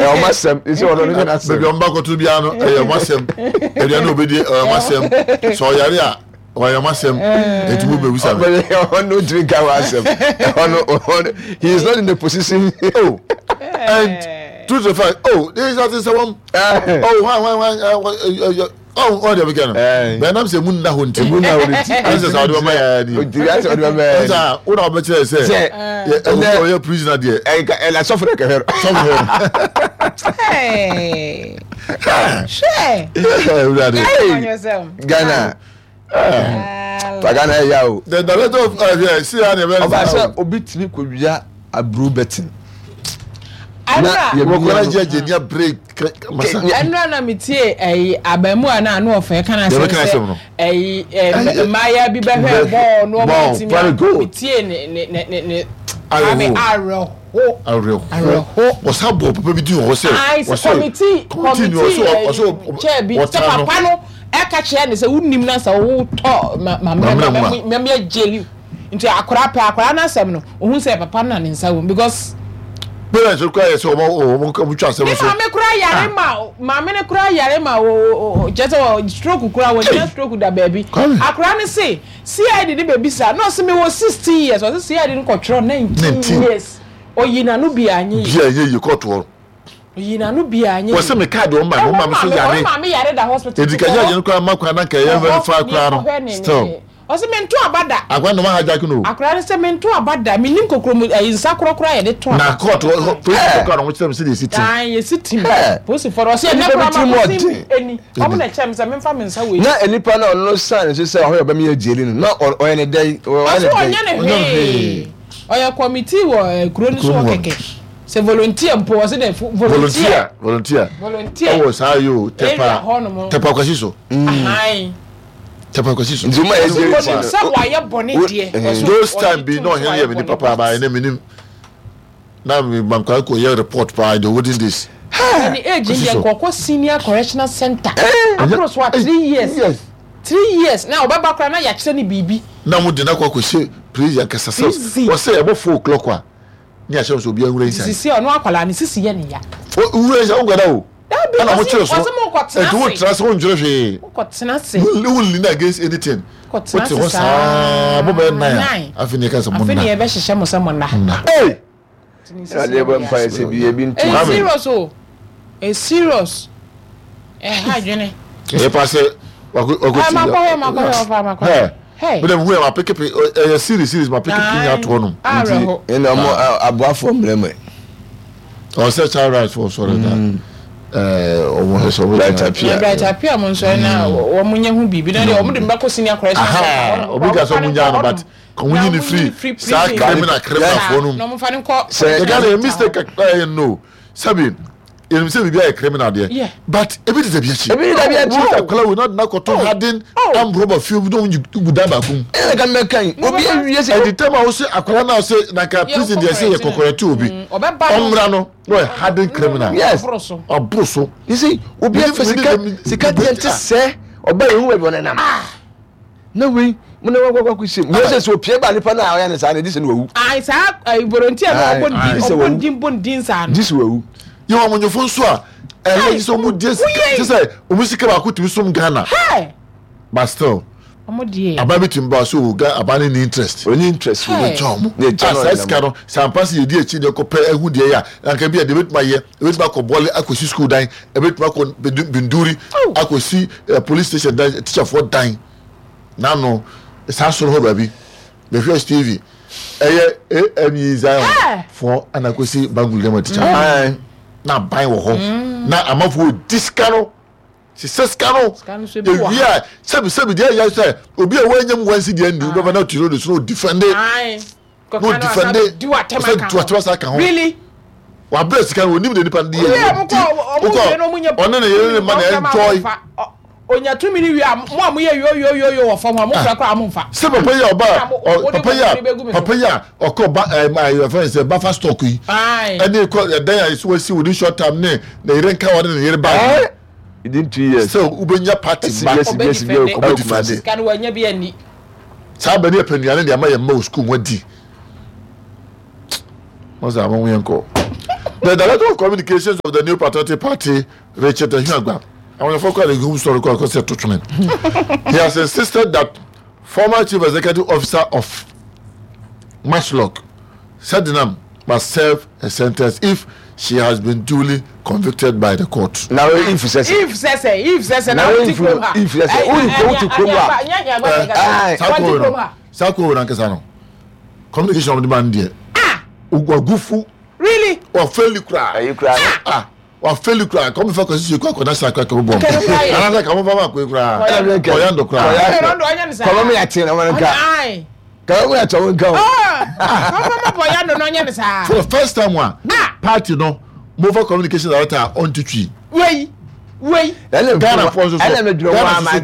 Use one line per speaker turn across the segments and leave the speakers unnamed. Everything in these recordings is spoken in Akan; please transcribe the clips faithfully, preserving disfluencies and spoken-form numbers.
Ɛyɛ ɔmo asɛm sɛ ɔno no nyɛ n'asɛm.
Baabi a ɔmo ba kɔto biara no, ɛyɛ ɔmo asɛm. Aduane a obedi, ɛyɛ ɔmo asɛm. Sɛ ɔyare a, ɔyɛ ɔmo asɛm. Eti mo bɛbisa me.
Ɔno ntumi nka wɔ asɛm. Ɔno ɔno he is not in the position.
Oh, and truth to fact, oh, this is sɛ wɔm. Oh, hwan hwan hwan, oh, ɔn deɛ mekɛ no. Bɛn nam sɛ mu nna hɔ nti.
Emu nna hɔ nti.
Ɛnsɛ sɛ ɔde bɛma yɛ ni.
Ntumi asɛ ɔde bɛma yɛ ni.
Ɛnsɛ wo na ɔbɛkyerɛ sɛ.
Sɛ
ɛnɛ ɔyɛ prisoner deɛ.
Ɛnka ɛna sɔfo na kɛhɛ no.
Sɔfo hɛ no.
Hwɛ.
Ewurade.
Ghana. Fa Ghana ɛyɛ ya o.
The director of ɛhwɛ si ha na ɛbɛn.
Ɔba sɛ obi tumi kɔ wia aburo bɛtin.
Wɔkɔla gye agye nia break masa.
Ɛnura na mi tie ɛyi abamu a na ano ɔfɛ kan asɛm sɛ ɛyi ɛ mmaaya bi bɛhwɛ bɔɔl no ɔmo ti mi mi tie ne ne ne ne ne ame awerɛho
awerɛho
awerɛho.
Ɔsa bɔ papa bi di wɔ hɔ sɛ
ayi sɛ kɔmiti kɔmiti ɛyi kyɛ bi sɛ papa no ɛka kyerɛ ne sɛ wunim na sɛ wotɔ ma ma mɛ mɛ mɛ gyeli nti akora pɛ akora n'asɛm no ohun sɛ papa no na ne nsa wɔ mu because.
Parents kura yɛ sɛ ɔmo ɔmo ɔmo twa asɛm
ne
so.
Maame kura yare ma, maame ne kura yare ma o o kyerɛ sɛ wɔ stroke kura wɔ nya stroke da baabi. Akora ne se C I D ne baabi sa na ɔse me wɔ sixteen years, ɔse C I D no kɔtwerɛ nineteen years, oyi n'ano bi anyi.
Bi a ɛnyɛ yie kɔɔto hɔ.
Oyi n'ano bi anyi.
Wɔsɛ me kaadi ɔmo maame ɔmo maame so yare.
Ɔmo maame yare da hospital.
Edi ka judge no kora ma kwan na nka ɛyɛ very far kora no still.
Ɔsɛ mento aba da.
Akora no ma hijack no.
Akora no sɛ mento aba da, menim kokoro mu ɛyi nsa korɔkorɔ a yɛde to aba.
Na court hɔ polisi kora no ɔmo kyerɛ me sɛ de esi tim.
Ayi yɛsi tim. Polisi fɔlɔ ɔsɛ ɛnɛ kora ma ko tim eni ɔmo na kyerɛ me sɛ memfa me nsa wei.
Na nipa na ɔno san ne so sɛ ɔhɔ yɛ ɔbɛmi yɛ gyeli no na ɔyɛ ne dɛ, ɔyɛ ne
dɛ.
Ɔsɛ
ɔnyɛ ne hwee, ɔyɛ committee wɔ kuro no so wɔ kɛkɛ sɛ volunteer mpo, ɔsɛ dɛ volunteer.
Volunteer.
Volunteer.
Ɛwɔ saa yi o, Tɛpa Tɛpa Kwasi so. Tɛpa Kwasi so.
Nti o ma yɛ gyeli
ti no sɛ wayɛ bɔne deɛ.
Those time bi na ɔhene yɛ mi ni papa ba ɛnɛ mi nim na mi mankwa kɔ yɛ report paa in the olden days.
Ɛni age deɛ nkɔkɔ senior correctional center aburo so a three years, three years na ɔbɛba koraa na yɛakyerɛ ne biribi.
Na mo de na kɔ akɔhyɛ prison kasa sɛ wɔsɛ ɛbɔ four o'clock a ne ahyɛ sɛ obi awura inside.
Sisi ɔno akwadaa ne sisi yɛ ne ya.
Wura inside wo nkɔda o.
Dabi.
Ɛna mo kyerɛ so
ɔsɛ mo nkɔ tena
ɛti wo
ase.
tena se wo nkyerɛ hwee.
Nkɔ tena ase.
Wo lean against anything.
Nkɔ tena
wote
ase
hɔ saa mo bɛyɛ nine a, afei ne yɛ ka sɛ mo
afei ne
nna.
yɛbɛhyehyɛ mo sɛ mo nna.
Nna.
Ee, ɛna bɔ mpa yɛ sɛ bi ebi ntu.
Ɛyɛ serious o, ɛyɛ serious, ɛha adwene.
Ɛyɛ pa sɛ wakɔ wakɔ
Ɛ makɔhwɛ, makɔhwɛ, ɔfa makɔhwɛ. Hey.
Bɛdɛ mu hu yɛ ma peke pe, ɛyɛ series series ma peke pe nya toɔ nom.
Awerɛho.
Ɛna ɔmo aboafoɔ mmerɛ mu.
Ɔsɛ child rights fo sɔrɔ da ɛɛ ɔmo hɛ sɛ ɔmo
Bright Appiah.
Bright Appiah mo nsɔre na wɔn nyɛ ho biribi na deɛ wɔn de mbɛkɔ senior correction
Aha, obi ka sɛ ɔmo nya no, but ɔmo yi ni firi saa criminal criminal foɔ no
na
mu.
wɔn fa ne nkɔ.
Sɛ-
Yɛ Ghana yɛ mistake kakra yɛ no sɛbi yɛnim sɛ biribi ayɛ criminal deɛ,
Yeah.
but ebi de dabi akyi.
Ebi de dabi akyi.
Wo akwadaa wo na na kɔtɔ harden armed robber fie bi na ɔmo gu dan baako mu.
Ɛna ka mɛka yi obi awie sɛ
ɛdi tɛm a wosɛ akwadaa na ɔsɛ na nka prison deɛ sɛ yɛ kɔkɔrɛ ti obi
ɔbɛba no.
Ɔmra no na ɔyɛ harden criminal.
Yes.
Ɔboro so.
Ɔboro so.
You see, obi
Mede-
afa
mede-
sika
mede-
sika deɛ nte sɛ ɔba yɛn hu baabi ɔnenam na wei mo na wakɔ akɔ hyɛ mu sɛ sɛ opie ba nipa na ɔyɛ ne saa na ɛdi sɛ no wawu.
Ayi saa ayi volunteer na ɔbɔ
Aye,
ne
aye.
din, ɔbɔ ne din, bɔ ne din saa no.
Gye sɛ wawu.
Yɛ wɔn amanyɔfo nso a ɛyɛ sɛ ɔmo die sika
Woyɛ-
kyɛ sɛ ɔmo sika baako tumi som Ghana,
Hey.
but still
Ɔmo deɛ.
aban bi tumi ba so o Ga aban ne ni interest.
Ɔni interest wɔ
Hey.
Gya ɔmo
Ne gya
a
no
saa
ɔnenam.
sika no sɛ ampa sɛ yɛdi akyi deɛ kɔpɛ ɛho deɛ yɛ a anka bi a deɛ ebɛtumi ayɛ, ebɛtumi akɔ Bɔle akɔsi school dan, ebɛtumi akɔ Bendu- binduri
Oh.
akɔsi eh, police station dan, teacherfoɔ dan n'ano saa soro hɔ baabi bɛhwɛ T V ɛyɛ A M E Zion
Hey.
foɔ ana akɔsi bangul dɛm teacher
Aye.
na aban wɔ hɔ na amanfoɔ di sika no sisɛ sika no.
Sika no so ebi wɔ
ewie
ha.
a sɛbi sɛbi deɛ ɛyɛ sɛ obi a wɔnyɛ mu wansi deɛ ndi wobɛba na ɔte road so na ɔdefend
Ayi.
na ɔdefend
Di wa tɛm
ɔsɛ
aka
di wa tɛm asa ka ho.
Really.
Wabrɛ sika no, onim de nipa no de yɛ.
Oye, mo kɔ ɔmo wie na ɔmo nyɛ.
Ɔne ne yere ne ma na enjoy.
Onya tumi ni wie a, mo a mo yɛ yo yo yo yo wɔ fam hɔ, mo fura kora mo nfa.
Sɛ papa yi a ɔba
Na mo-
ɔ-
wode
papa yi
bɔne bɛgu
a
me so.
Papa yi a ɔkɔ ba ɛɛ ma ɛyɛ fɛn sɛ buffer stock yi
Ayi.
ɛne kɔ ɛdan a yɛsi wɔsi within short time ne ne yere nka wɔde ne yere bag.
Eh? Within two years.
Sɛ wobɛnya party
Esi
ba
bi, esi bi, esi bi,
Ɔbɛ
ɔkɔ
defend.
Kumasi.
Sika no wanya bi ani.
Saa bɛ ne yɛ pɛ nnuane de ama yɛn mma wɔ sukuu mu adi. Wɔn sɛ àwọn yɛn kɔ The director of communications of the New Patriotic Party, Richard Ahiagbah, I want to focus on the story because he has insisted that former chief executive officer of MASLOC, Sedinam, must serve a sentence if she has been duly convicted by the court.
Now, if sɛ
if sɛ sɛ if sɛ sɛ na wote kurom ha
if sɛ sɛ wote kurom ha
saa kuro nankasa no communication of the man deɛ wagufu.
Really?
Wafeli koraa.
Ɛyi koraa.
Ah, wafeli koraa kɔmi fɛ kɔsi kɔ akɔ national kɔ akɔ bɔ anasa kɔmi fɛ ma koyi koraa ɔyando koraa.
Kɔmi mi ati na wɔn nka kɔmi mi ati wɔn nka o.
Kɔmi ma bɔ yando na ɔnyɛ ne saa.
For the first time wa party no mobile communication director ɔnti twi.
Wei wei.
Ghana fɔ nso so Ghana nso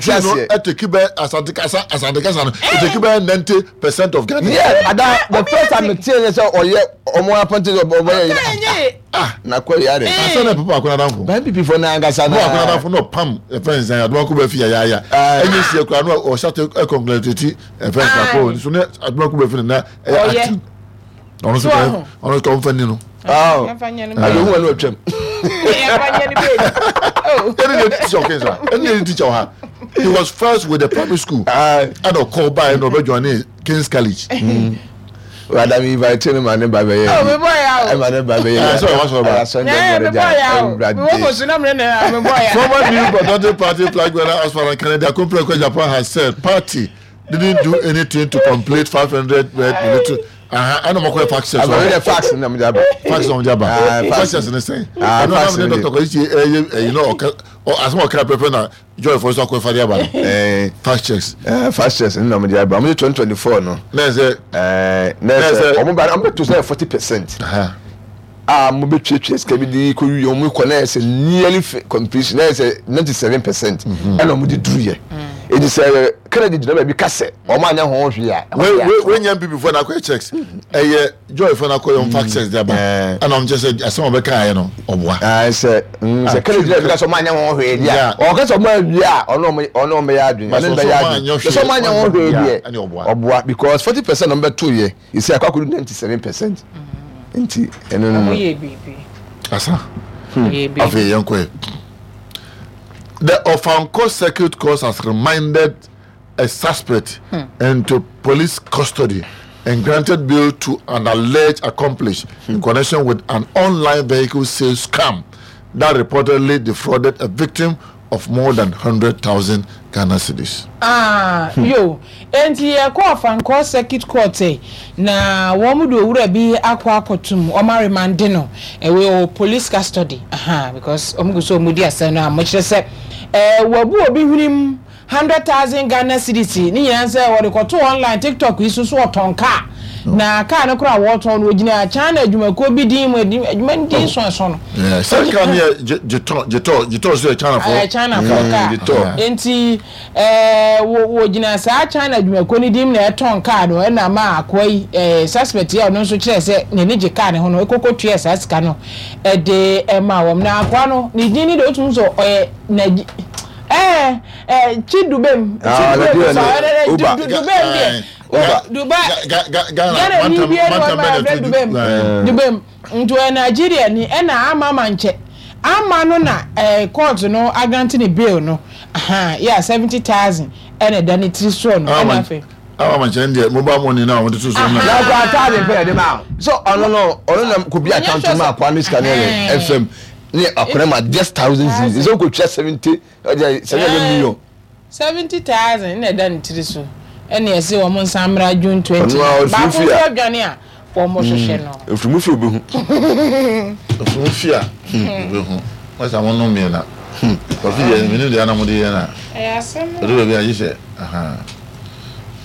twi no ɛtɛki bɛ Asante kasa, Asante kasa no ɛtɛki bɛ ninety percent of Ghana.
Yeah, ada the first time tie ne sɛ ɔyɛ ɔmo apɔnte sɛ ɔbɛyɛ yi
ah
na kɔ yare.
Asa na papa akɔnɔ adanfo.
Ban P P fo na ankasa
na. Papa akɔnɔ adanfo na ɔpam ɛfɛn nsɛn Adomako bɛ fi yayaya ɛnyɛ sie kura na ɔhyɛ ɛkɔnkɔlɛtɛti ɛfɛn nsɛn akɔ nso ne Adomako bɛ fi na ɛyɛ active ɔno nso kɔ ɔno nso kɔ nfa ni no.
Ade ohun ɛnu atwam.
Ɛni de teacher ɔkè sa ɛni de teacher ɔha, he was first with the primary school ɛna ɔkɔ ba ɛna ɔbɛ join ne King's College.
Wada mi invite ne ma ne ba bɛ yɛ.
Ɔ mi bɔ ya o.
Ɛ ma ne ba bɛ yɛ.
Ɛ sọ wa sọ ba.
Ɛ mi bɔ ya o, mi wɔ ko sunam ne na mi bɔ ya.
Former New Patriotic Party flag bearer aspirant Kennedy Akompreko Agyapong has said party didn't do anything to complete five hundred bed military. Ɛna mo kɔ yɛ fax.
Abɛn yɛ fax na mo de aba.
Fax na mo de aba. Fax yɛ sɛnɛ sɛn. Ɛna na mo ne Doctor kɔ yi ɛyɛ ɛyi na ɔka asɛm ɔka pɛpɛ na Joy fɔ so akɔ ɛfa de aba no. Fax checks.
Fax checks na mo de aba. Mo de twenty twenty four no.
N'a sɛ.
Ɛɛ n'a sɛ ɔmo ba ɔmo bɛ to sɛ forty percent. A mo bɛ tuatua sika bi de kɔ wi ɔmo kɔ na yɛ sɛ nearly completion na yɛ sɛ ninety seven percent ɛna ɔmo de duru yɛ. Edi sɛ Kennedy gyina baabi kasɛ ɔmo anya ho hwee a.
Wei wei nyɛ N P P fo na akɔyɛ checks, ɛyɛ Joy fo na akɔyɛ fax checks de aba, ɛna ɔmo kyerɛ sɛ asɛm a ɔbɛka ayɛ no ɔboa.
Ɛɛ sɛ sɛ Kennedy gyina baabi kasɛ ɔmo anya ho hwee di a, ɔka sɛ ɔmo awie a, ɔno ɔmo ɔno ɔmo yɛ adwene ɔno bɛyɛ adwene sɛ ɔmo anya ho hwee deɛ ɔboa, because forty percent ɔmo bɛ to yɛ esi akɔ akɔdu ninety seven percent nti ɛno no.
Ɔmo yɛ biribi.
Asa afei yɛn kɔ yɛ. The Ofankor Circuit Court has remanded a suspect hmm. into police custody and granted bail to an alleged accomplice hmm. in connection with an online vehicle sales scam that reportedly defrauded a victim of more than one hundred thousand Ghana cedis.
Ah, hmm. yo, enti yɛkɔ Ofankor Circuit Court na wɔn de owura bi akɔ akɔtum, wɔn aremande no ɛwɔ police custody, aha, because wɔn gu so wɔn di asɛm no a wɔkyerɛ sɛ ɛɛ wɔbu obi hwenem hundred thousand Ghana cedis ne nyinaa sɛ wɔde kɔto online TikTok yi so so ɔtɔn kaa, na kaa no koraa wɔtɔn no, ogyina China adwumakuo bi din mu, adwuma no din so ɛso no.
Sɛ kaa no yɛ Jetour, Jetour, Jetour so yɛ China fo.
Ɛyɛ China fo kaa, nti ɛɛ wɔgyina saa China adwumakuo no din mu na ɛtɔn kaa no, ɛna ma akoa yi ɛɛ suspect yi a ɔno nso kyerɛ sɛ n'ani gye kaa ne ho no ekoko tua saa sika no ɛde ɛma wɔn. Na akoa no ne din ni de otum so ɔyɛ Naji ɛɛ ɛɛ Chidubem, Chidubem sɔ ɛɛ Dubem deɛ Dubai Ghana ni bi ɛna wɔn ma ɛfɛ Dubem, Dubem nti ɔyɛ Nigeria ni, ɛna ama ama nkyɛ ama no na ɛɛ court no agrant ne bail no yɛ seventy thousand ɛna ɛda ne tiri soɔ no, ɛna afei.
Awa ma nkyɛn deɛ mobile money na wɔn de to so na.
Na akɔ ataade pɛ yɛde ma so ɔno no ɔno na ko bi account mu akɔ ano sika ne yɛ fm ne akɔnɛ ma just thousand cedis ɛsɛ ko tua seventy ɔjɛ seven hundred million.
Seventy thousand na ɛda ne tiri so, ɛna ɛsɛ wɔn nsa mmra June twenty baako nso adwane a wɔn hwehwɛ no.
Efirimu fi obi hu.
Efirimu fi a obi hu wɔn sɛ wɔn nom mmiɛnna kɔfi deɛ mmienu deɛ anam de yɛ na
ɛyɛ asɛm.
Ɛdo baabi a gye sɛ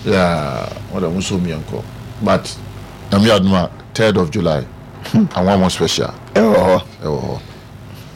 yaa wɔn de wɔn so mmiɛnkɔ, but na mi adum a third of July anwa mo special.
Ɛwɔ hɔ.
Ɛwɔ hɔ.